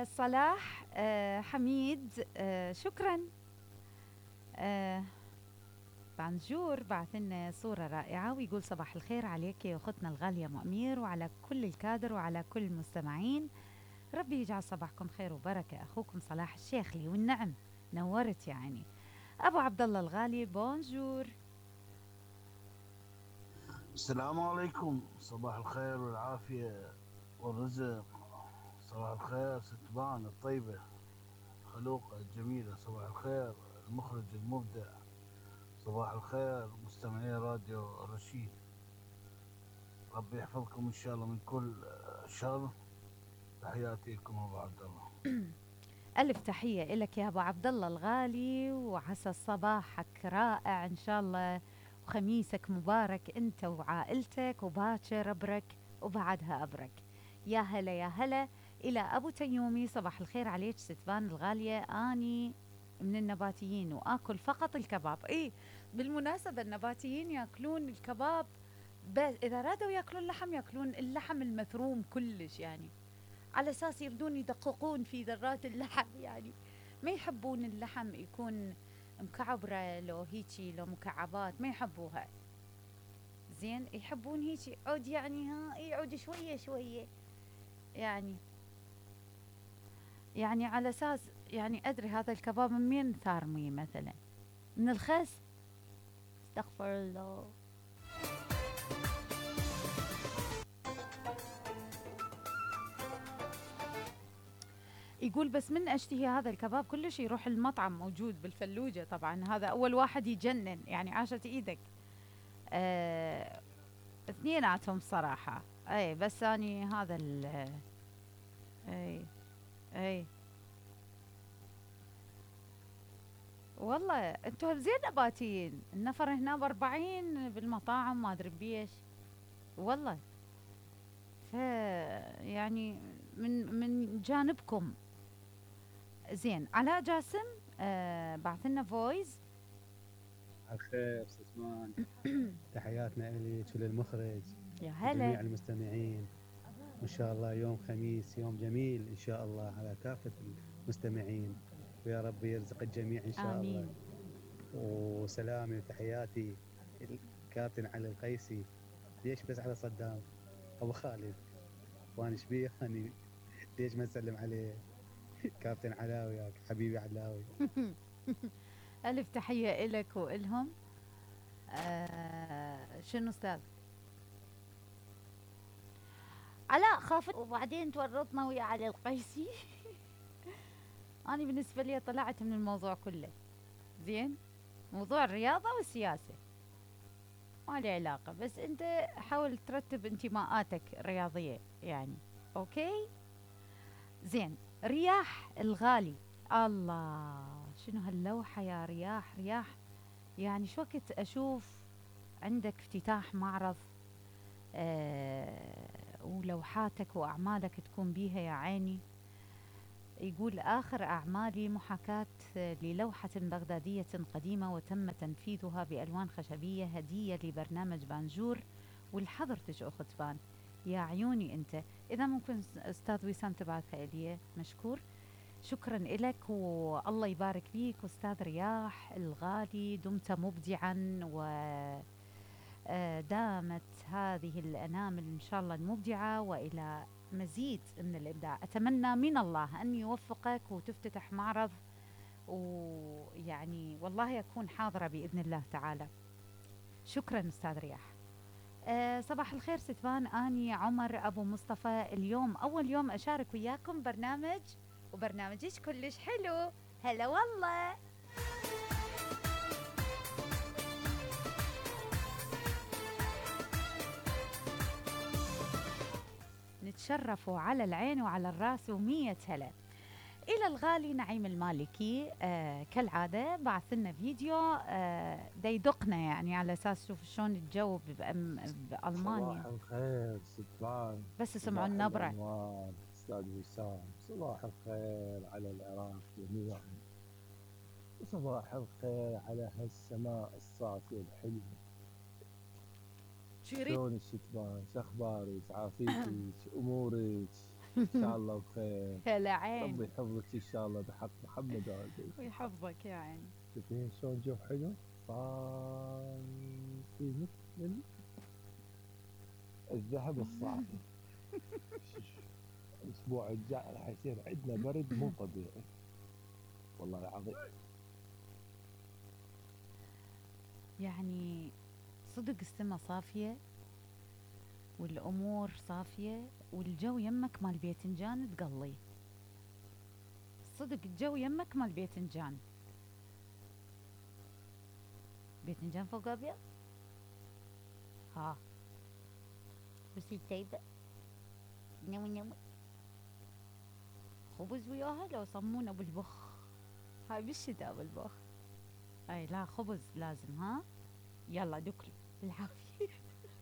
صلاح حميد، شكرا. آه بانجور بعث لنا صورة رائعة ويقول صباح الخير عليك يا أختنا الغالية مؤمير وعلى كل الكادر وعلى كل المستمعين. ربي يجعل صباحكم خير وبركة. أخوكم صلاح الشيخلي والنعم، نورت يعني. أبو عبد الله الغالي بونجور. السلام عليكم، صباح الخير والعافية والرزق. صباح الخير ست بان الطيبة خلوقة الجميلة. صباح الخير المخرج المبدع. صباح الخير مستمعي راديو رشيد. ربي يحفظكم إن شاء الله من كل شر. تحياتي لكم أبو عبد الله. ألف تحية إلك يا أبو عبد الله الغالي، وعسى صباحك رائع إن شاء الله، وخميسك مبارك أنت وعائلتك، وباكر أبرك وبعدها أبرك. يا هلا يا هلا. إلى أبو تيومي، صباح الخير عليك ستبان الغالية. أني من النباتيين وآكل فقط الكباب. إيه بالمناسبة النباتيين يأكلون الكباب، بس إذا رادوا يأكلون لحم يأكلون اللحم المثروم كلش يعني، على اساس يردون يدققون في ذرات اللحم يعني. ما يحبون اللحم يكون مكعبره، لو هيجي لو مكعبات ما يحبوها. زين يحبون هيجي عود يعني، ها يعود شويه شويه يعني. يعني على اساس يعني ادري هذا الكباب من مين ثارمي مثلا، من الخس. استغفر الله. يقول بس من اشتهي هذا الكباب كلش يروح المطعم موجود بالفلوجة، طبعا هذا اول واحد يجنن يعني، عاشت ايدك. اثنيناتهم صراحة. اي بس اني هذا اي اي والله انتم زين نباتيين. النفر هنا ب40 بالمطاعم ما ادري بيش والله. ف يعني من جانبكم. زين علاء جاسم بعث لنا فويس. الخير ستمان. تحياتنا إليك وللمخرج يا وجميع هلا. المستمعين. وإن شاء الله يوم خميس يوم جميل إن شاء الله على كافة المستمعين، ويا رب يرزق الجميع إن شاء الله. امين. وسلامي وتحياتي الكابتن علي القيسي. ليش بس على صدام أبو خالد؟ وأنا شبيه أني ليش ما نسلم عليه؟ كابتن علاوي يا حبيبي علاوي. الف تحية الك والهم. شنو استاذ علاء خافت وبعدين تورطنا ويا علي القيسي. أنا بالنسبة لي طلعت من الموضوع كله. زين موضوع الرياضة والسياسة ما لي علاقة، بس أنت حاول ترتب انتماءاتك الرياضية يعني. أوكي زين. رياح الغالي، الله شنو هاللوحة يا رياح. رياح يعني شو وقت أشوف عندك افتتاح معرض ولوحاتك وأعمالك تكون بيها يا عيني. يقول آخر أعمالي محاكاة للوحة بغدادية قديمة وتم تنفيذها بألوان خشبية هدية لبرنامج بانجور والحضرتش أخت بان. يا عيوني أنت، إذا ممكن أستاذ وسام تبعثها إلي مشكور. شكرا لك والله يبارك فيك أستاذ رياح الغالي. دمت مبدعا ودامت هذه الأنامل إن شاء الله المبدعة وإلى مزيد من الإبداع. أتمنى من الله أن يوفقك وتفتتح معرض، ويعني والله أكون حاضرة بإذن الله تعالى. شكرا أستاذ رياح. صباح الخير ستبان. أني عمر أبو مصطفى. اليوم أول يوم أشارك وياكم برنامج، وبرنامجك كلش حلو. هلا والله. نتشرفوا على العين وعلى الراس ومية هلا. إلى الغالي نعيم المالكي كالعادة بعث لنا فيديو دا يدقنا يعني على أساس شوف شلون الجو بألمانيا. صباح الخير ستفان. بس سمعوا صباح النبرة. الأنوار أستاذ وسام. صباح الخير على العراق جميعا، وصباح الخير على هالسماء الصافية الحلوة. شو يريد؟ شلون الشتبان؟ شخبارك؟ عافيتك؟ أمورك؟ ان شاء الله بخير. هلا عين. ربي يحفظك ان شاء الله بحق محمد وعليه. ويحفظك يا عيني. شوفي شلون جو حلو صار في مثل الذهب الصافي. الاسبوع الجاي راح يصير عندنا برد مو طبيعي والله العظيم. يعني صدق السما صافية والأمور صافية والجو يمك مال بيتنجان تقلي. صدق الجو يمك مال بيتنجان. بيتنجان فوق أبيض. ها بس الطيبة نوي نوي خبز وياها لو صمونة بالبخ. هاي بالشتاء بالبخ. اي لا خبز لازم ها. يلا دكلي بالعافية.